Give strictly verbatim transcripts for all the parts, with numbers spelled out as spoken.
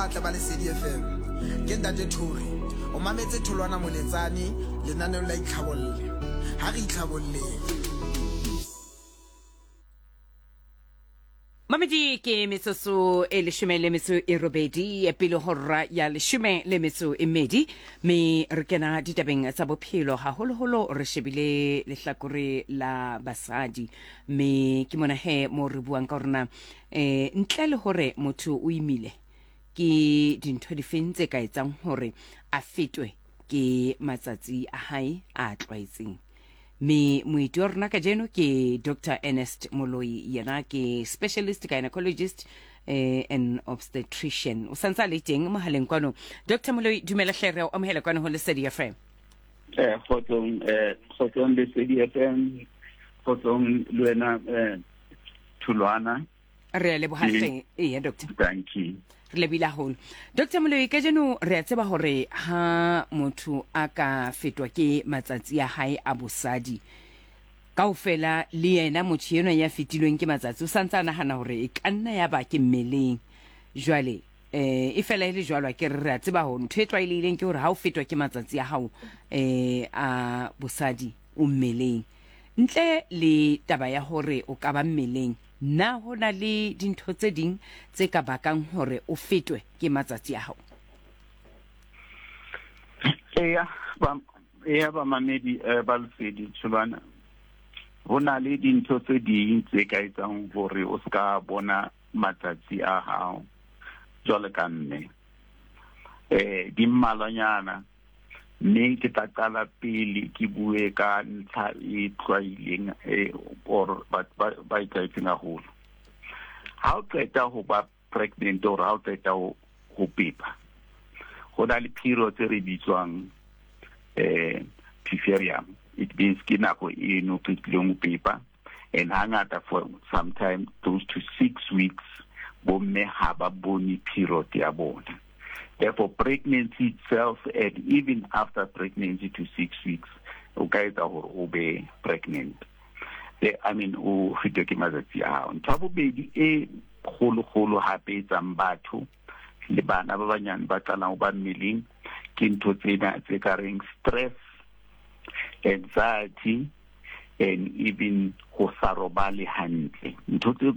batle ba Lesedi F M. Ke Ntate Thori, o mametse Tholwana Moletsane lenaneong la Itlhabolle. Ha re itlhabolleng. Mamedi, ke metsotso e leshome le metso e robedi pele hora ya leshome le metso e mmedi, mme re kena ditabeng tsa bophelo, haholoholo re shebile lehlakore la basadi. Mme ke mona he mo re buang ka horena um ntle le hore motho o imile, ke dintho difeng tse ka etsang hore a fetwe ke matsatsi a hae a tlwaetseng? Mme moeti wa rona kajeno ke Doctor Ernest Moloi, yena ke specialist gynecologist eh, and obstetrician. O santse a le teng mohaleng kwano. Doctor Moloi, dumela hle, re o amohela kwano ho Lesedi F M. eh kgotsong eh kgotsong Lesedi F M, kgotsong le wena eh Thulwana. Re a leboha hle, eya doctor. Thank you. Re lebile haholo, Doctor Moloi. Kajeno re a tseba hore ha motho a ka fetwa ke matsatsi a hae a bosadi kaofela, le yena motho enwa ya fetilweng ke matsatsi o santse a nahana hore e ka nna ya ba ke mmeleng. Jwale eh e fela e le jwalo, ke re re a tseba hore ntho e tlwaelehileng ke hore ha o fetwa ke matsatsi a hao eh a bosadi, o mmeleng. Ntle le taba ya hore o ka ba mmeleng, na ho na le dintho tse ding tse ka bakang hore o fetwe ke matsatsi a hao? Eya, ba eya, bamamedi eh, ba Lesedi, Tholwana, ho na le dintho tse ding tse ka etsang hore o ska bona matsatsi a hao jwalo ka mme. eh di mmalwanyana, mme ke tla qala pele ke bue ka ntlha e tlwaileng e or ba ba e tlwaetseng haholo. Ha o qeta ho ba pregnant or ha o qeta ho ho pepa, ho na le period tse re bitswang eh puerperium. It means ke nako eno qetileng ho pepa, and hangata for some time close to six weeks bomme ha ba bone period ya bona. Therefore, pregnancy itself and even after pregnancy to six weeks o ka etsa hore o be pregnant, the, I mean, o fetwe ke matsatsi a hao. Ntho ya bobedi e kgolo-kgolo hape etsang batho le bana ba banyane ba qalang ho ba mmeleng ke ntho tsena tse ka reng stress, anxiety and even ho sa robale hantle. Ntho tse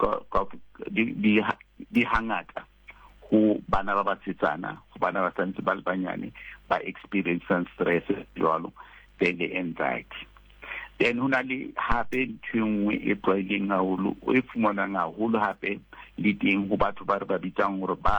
di di hangata ho bana ba basetsana, ho bana ba santse ba le banyane ba experiencing stress jwalo, then le anxiety. Then ho na le hape ntho e nngwe e tlwaeleng haholo, e fumanang haholo hape le teng ho batho ba re ba bitsang hore ba